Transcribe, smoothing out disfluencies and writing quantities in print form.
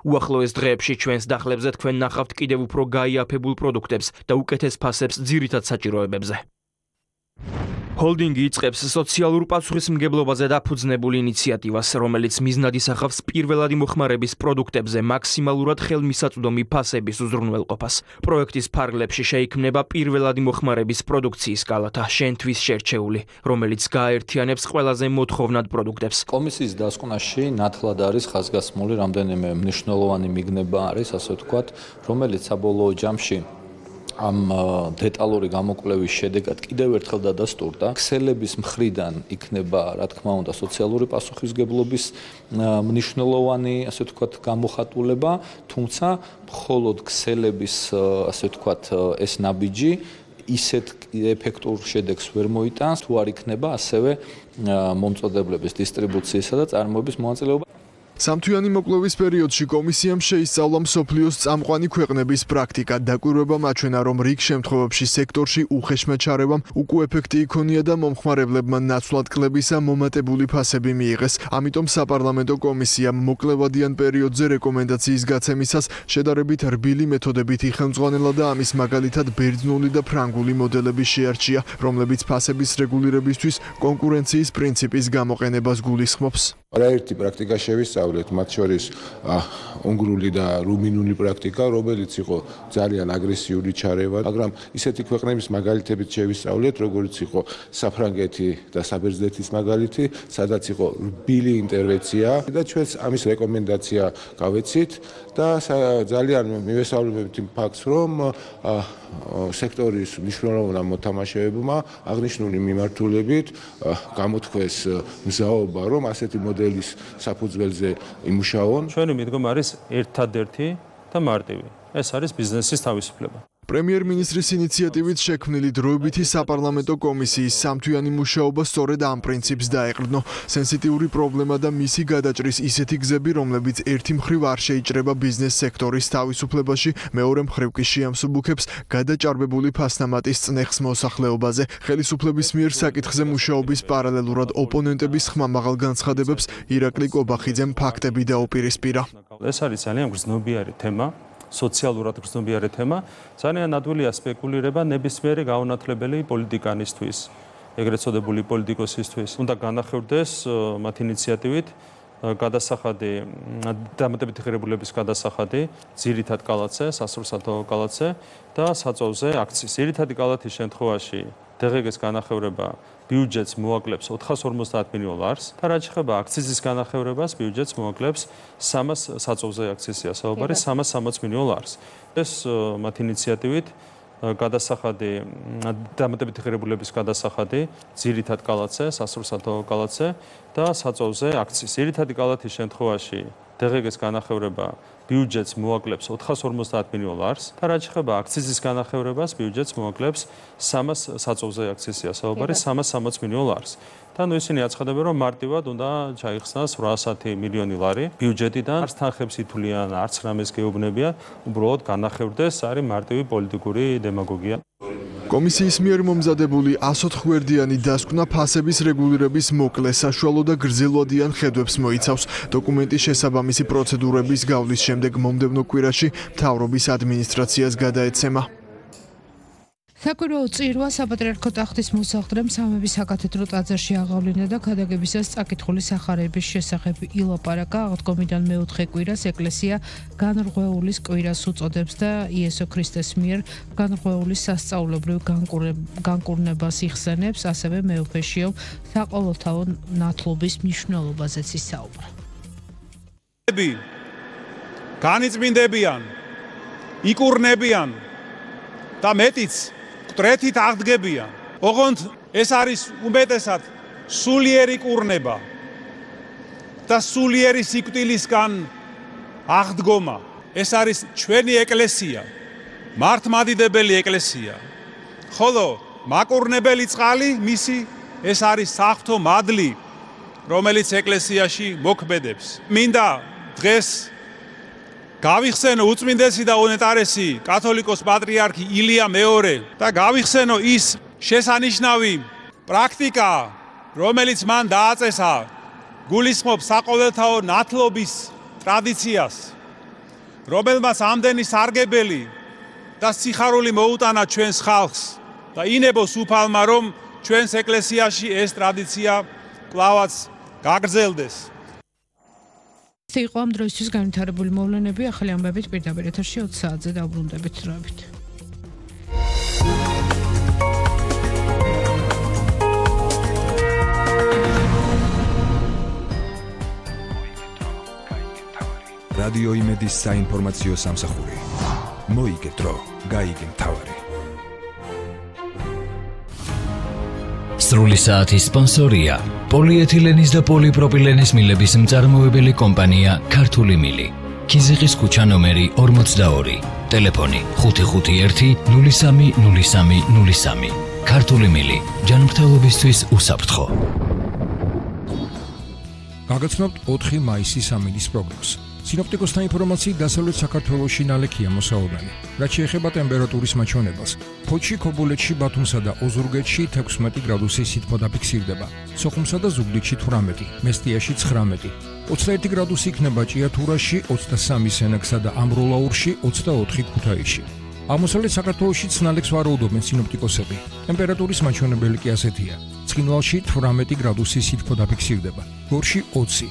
უახლოეს დღეებში ჩვენს დახლებზე თქვენ ნახავთ კიდევ უფრო გაიაფებულ პროდუქტებს და უკეთეს ფასებს ძირითად საჭიროებებზე. ჰოლდინგი იწყებს სოციალურ პასუხისმგებლობაზე დაფუძნებულ ინიციატივას, რომელიც მიზნად ისახავს პირველადი მოხმარების პროდუქტებზე მაქსიმალურად ხელმისაწვდომი ფასების უზრუნველყოფას. პროექტის ფარგლებში შეიქმნება პირველადი მოხმარების პროდუქციის კალათა შენთვის შერჩეული, რომელიც გააერთიანებს ყველაზე მოთხოვნად პროდუქტებს. კომისიის დასკვნაში ნათლად არის ხაზგასმული რამდენიმე მნიშვნელოვანი მიგნება არის, ასე ვთქვათ, რომელიც საბოლოო ჯამში ამ დეტალური გამოკვლევის შედეგად კიდევ ერთხელ დადასტურდა. ქსელების მხრიდან იქნება, რა თქმა უნდა, სოციალური პასუხისმგებლობის მნიშვნელოვანი, ასე ვთქვათ, გამოხატულება, თუმცა მხოლოდ ქსელების, ასე ვთქვათ, ეს ნაბიჯი ისეთ ეფექტურ შედეგს ვერ მოიტანს, თუ არ იქნება ასევე მომწოდებლების დისტრიბუციისა და წარმოების მონაწილეობა. სამთვიანი მოკვლევის პერიოდში კომისიამ შეისწავლა მსოფლიოს წამყვანი ქვეყნების პრაქტიკა. დაკვირვება მაჩვენა, რომ რიგ შემთხვევებში სექტორში უხეშმა ჩარევამ უკუ ეფექტი იქონია და მომხმარებლებმა ნაცვლად კლებისა მომატებული ფასები მიიღეს. ამიტომ საპარლამენტო კომისიამ მოკლევადიან პერიოდზე რეკომენდაციის გაცემისას შედარებით რბილი მეთოდებით იხელმძღვანელა და ამის მაგალითად ბერძნული და ფრანგული მოდელები შეარჩია, რომლებიც ფასების რეგულირებისთვის კონკურენციის პრინციპის გამოყენებას გულისხმობს. არაერთი პრაქტიკა შევისწავლეთ, მათ შორის უნგრული და რუმინული პრაქტიკა, რომელიც იყო ძალიან აგრესიული ჩარევა, მაგრამ ისეთი ქვეყნების მაგალითებით შევისწავლეთ, როგორც იყო საფრანგეთი და საბერძნეთის მაგალითი, სადაც იყო რბილი ინტერვენცია და ჩვენს ამის რეკომენდაცია გავეცით და ძალიან მივესალმებით იმ ფაქტს, რომ სექტორის მნიშვნელოვან მოთამაშეებმა აღნიშნული მიმართულებით გამოთქვეს მზაობა, რომ ასეთი მოდელის საფუძველზე იმუშაონ. ჩვენი მიდგომა არის ერთადერთი და მარტივი. ეს არის ბიზნესის თავისუფლება. პრემიერ-მინისტრის ინიციატივით შექმნილი დროებითი საპარლამენტო კომისიის სამთვიანი მუშაობა სწორედ ამ პრინციპს დაეყრდნო. სენსიტიური პრობლემა და მისი გადაჭრის ისეთი გზები, რომლებიც ერთი მხრივ არ შეიჭრება ბიზნეს სექტორის თავისუფლებაში, მეორე მხრივ კი შეამსუბუქებს გადაჭარბებული ფასნამატის წნეხს მოსახლეობაზე. ხელისუფლების მიერ საკითხზე მუშაობის პარალელურად ოპონენტების ხმამაღალ განცხადებებს ირაკლი კობახიძემ ფაქტები დაუპირისპირა. ეს არის ძალიან გრძნობიარე თემა. სოციალურად გრძნობიარე თემა, ძალიან ადვილია სპეკულირება ნებისმიერი გაუნათლებელი პოლიტიკანისთვის, ეგრეთ წოდებული პოლიტიკოსისთვის. უნდა განახორციელდეს მათ ინიციატივით გადასახადი, დამატებითი ღირებულების გადასახადი, ძირითად კალათზე, სასურსათო კალათზე და საწოლზე აქციის. ძირითადი კალათის შემთხვევაში დღეგეს განახევრება ბიუჯეტს მოაკლებს $450 მილიონ და რაც შეეხება აქციზის განახევრებას, ბიუჯეტს მოაკლებს 300 საწოლზე აქციზია საუბარი $360 მილიონ. ეს მათ ინიციატივით გადასახადი, დამატებითი ღირებულების გადასახადი, ძირითად კალათზე, სასურსათო კალათზე და საწოლზე აქციის. ძირითადი კალათის შემთხვევაში დღეგეს განახევრება ბიუჯეტს მოაკლებს $450 მილიონ და რაც შეეხება აქციზის განახევრებას, ბიუჯეტს მოაკლებს 300 საწოლზე აქციზია საუბარი $360 მილიონ. და ისინი აცხადებენ, რომ მარტივად უნდა ჩაიხსნას $800 მილიონი ბიუჯეტიდან, არც თანხებს ითვლიან, არც რამეს გეუბნებიან, უბრალოდ განახევრდეს, არის მარტივი პოლიტიკური დემაგოგია. კომისიის მიერ მომზადებული 104 გვერდიანი დასკვნა ფასების რეგულირების მოკლე, საშუალო და გრძელვადიან ხედვებს მოიცავს. დოკუმენტის შესაბამისი პროცედურების გავლის შემდეგ მომდევნო კვირაში მთავრობის ადმინისტრაციას გადაეცემა. საკვირაო წირვა საპატრიარქო ტახტის მოსახლემ სამების საკათედრო ტაძარში აღავლინა და ქადაგებისას წაკითხული სახარების შესახებ ილაპარაკა. აღდგომიდან მეოთხე კვირას ეკლესია განრღვეულის კვირას უწოდებს და იესო ქრისტეს მიერ განრღვეულის სასწაულებრივ განკურნებას იხსენებს, ასევე მეუფეშიო საყოველთაო ნათლობის მნიშვნელობაზეც ისაუბრა. განიწმინდებიან, იკურნებიან და მეტიც კტრეთით აღდგებიან. ოღონდ ეს არის უმეტესად სულიერი კურნება და სულიერი სიკვდილისგან აღდგომა. ეს არის ჩვენი ეკლესია, მართლმადიდებელი ეკლესია. ხოლო მაკურნებელი წყალი მისი ეს არის საღვთო მადლი, რომელიც ეკლესიაში მოქმედებს. მინდა დღეს გავიხსენო უწმინდესი და უნეტარესი კათოლიკოს პატრიარქი ილია მეორე და გავიხსენო ის შესანიშნავი პრაქტიკა, რომელიც მან დააწესა, გულისხმობს საყოველთაო ნათლობის ტრადიციას რომელმაც ამდენი სარგებელი და სიხარული მოუტანა ჩვენს ხალხს და ინებოს უფალმა, რომ ჩვენს ეკლესიაში ეს ტრადიცია კლავაც გაგრძელდეს. იყო ამ დროისთვის განვითარებული მოვლენები, ახალი ამბებით პირდაპირ ეთერში 20 საათზე დავბრუნდებით დროებით. რადიო იმედის საინფორმაციო სამსახური. მოიგე დრო, გაიგე მთავარი. სრული საათის სპონსორია პოლიეთილენის და პოლიპროპილენის მილების მწარმოებელი კომპანია ქართული მილი. ქიზიყის ქუჩა ნომერი 42, ტელეფონი 551 030303. ქართული მილი, ჯანმრთელობისთვის უსაფრთხო. გაგაცნობთ 4 მაისის ამინდის პროგნოზს. სინოპტიკოსთა ინფორმაციით დასავლეთ საქართველოში ნალექია მოსაობანი. რაც შეეხება ტემპერატურის მაჩვენებელს, ფოთში, ქობულეთში, ბათუმსა და ოზურგეთში 16 გრადუსი სითბო დაფიქსირდება. სოხუმსა და ზუგდიდში 18, მესტიაში 19, 21 გრადუსი იქნება ჭიათურაში, 23 სენაკსა და ამროლაურში, 24 ქუთაისში. აღმოსავლეთ საქართველოშიც ნალექს ვარაუდობენ სინოპტიკოსები. ტემპერატურის მაჩვენებელი კი ასეთია. ცხინვალში 18 გრადუსი სითბო დაფიქსირდება. გორში 20,